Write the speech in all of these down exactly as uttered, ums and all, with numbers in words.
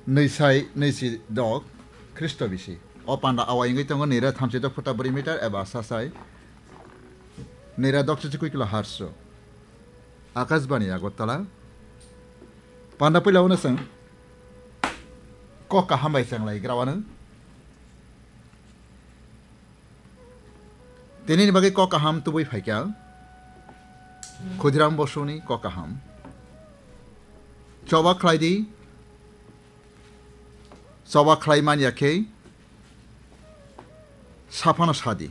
Nwi sai nwi si dok Khristo bisi. O panda awai wngwi tongo nwi ra thamchi dok phota bwrwi meter eba sasai nwi ra dok chichi kwi kilo harso. Akashbani Agartala. Panda puila uno chwng kok kaham bai chang lai gra uanw. Tinini bagwi kok kaham tubui phaikha. Khudiram Bosuni kok kaham. Choba khlai di. Choba khlai manya khe saphano sadi.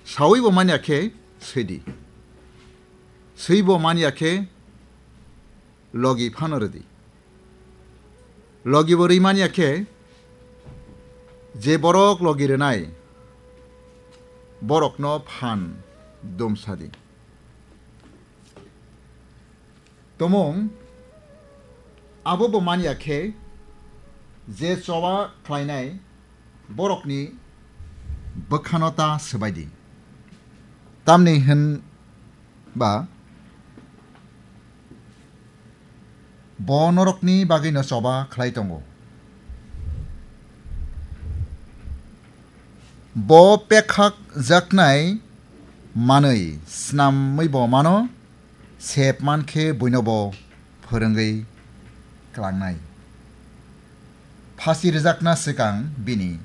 Sawi bo manya khe swidi. Swi bo manya khe logi phano rwdi. Logi bo rwi manya khe je borok logi rwnai borokno phan dum sadi. Tomung abo bo manya khe je choba khlainai borokni bwkhano ta swbaidi. Tamni hwn ba bo norokni bagwino choba khlai tongo. Bo pekhak jaknai manwi snamwi bo mano, sep man khe buino bo phwrwngwi klangnai. Phasi rwjakna swkang bini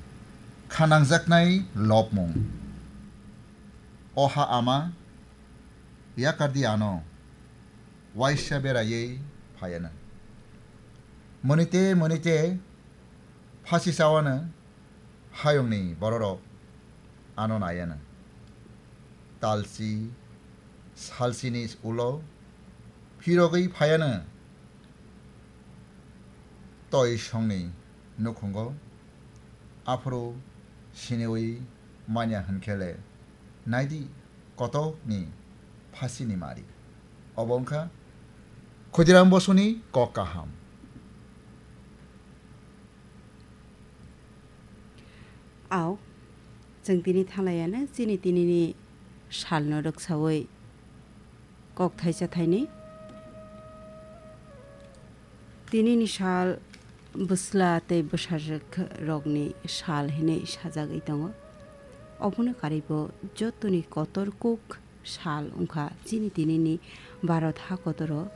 khanangjaknai lobmung. O ha ama, yakardi ano, waisa beraiwi phaiano. Monite monite phasi chawano hayungni bororok ano naiano. Talchi salchini ulo phirogwi phaiano. Toi songni nukhungo aphuru siniwi manya hwnkhe le naidi kotokni phasini mari. Obo wngkha Khudiram Bosuni kok kaham. Ao, chwng tini thanglaiano chini tinini salno rwksawi kok thaisa thainwi. Tinini sal bwsla tei bwsajwk rokni sal hinwi sajagwi tongo. Obono karwibo jotoni kotor kuk sal wngkha chini tinini Bharat hakotoro.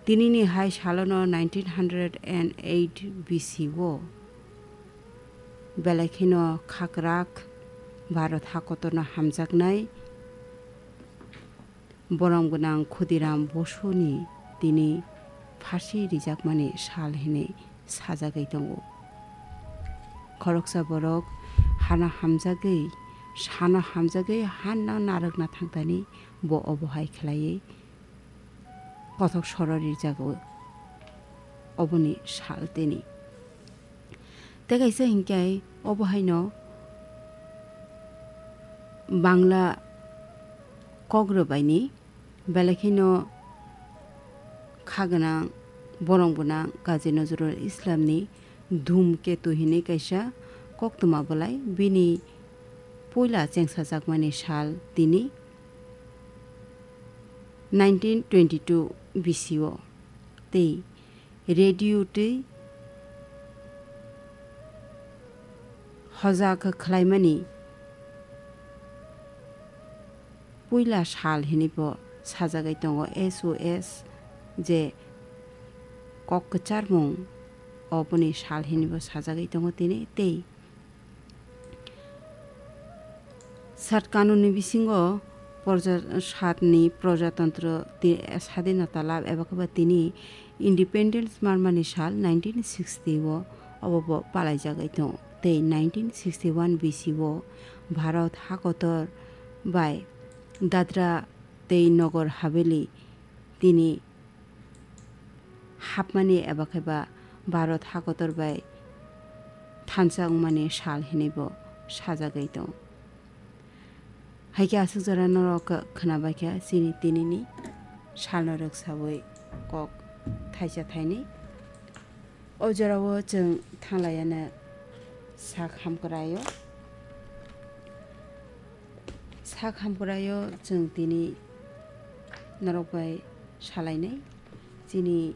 Tinini hai salono nineteen hundred and eight B C o belai kheno khakrak Bharat hakotorno hamjaknai borom gwnang Khudiram Bosuni tini phasi rijakmani sal hinwi sajagwi tongo. Khoroksa borok hano hamjagwi, sano hamjagwi hanno narwkna thangtani bo obo hai khlaiwi kothok soro rijago oboni sal tini. Tei kaisa hinkhe obo haino Bangla kok rwbaini belai kheno kha gwnang, borom gwnang Kazi Nazrul Islamni Dhumketu hinwi kaisa koktwma bwlai bini puila chengsajakmani sal tini nineteen twenty-two B C o tei radio twi hojak khlaimani puila sal hinwi bo sajagwi tongo. S O S je kok kwcharmung oboni sal hinwi bo sajagwi tongo tini tei Sat kanunni bisingo porja-, satni projatantro ti-, sadinota lab eba khe ba tini independence manmani sal nineteen sixty o obo bo palaijagwi tongo. Tei nineteen sixty-one B C o Bharat hakotor bai Dadra tei Nagar Haveli tini hapmani eba khe ba Bharat hakotor bai thansa wngmani sal hinwi bo sajagwi tongo. Hai khe aswk jora norok khwnabai kha chini tinini salno rwksawi kok thaisa thainwi. O jorao chwng thanglaiano sak hamkwraio. Sak hamkwraio chwng tini norok bai salainai chini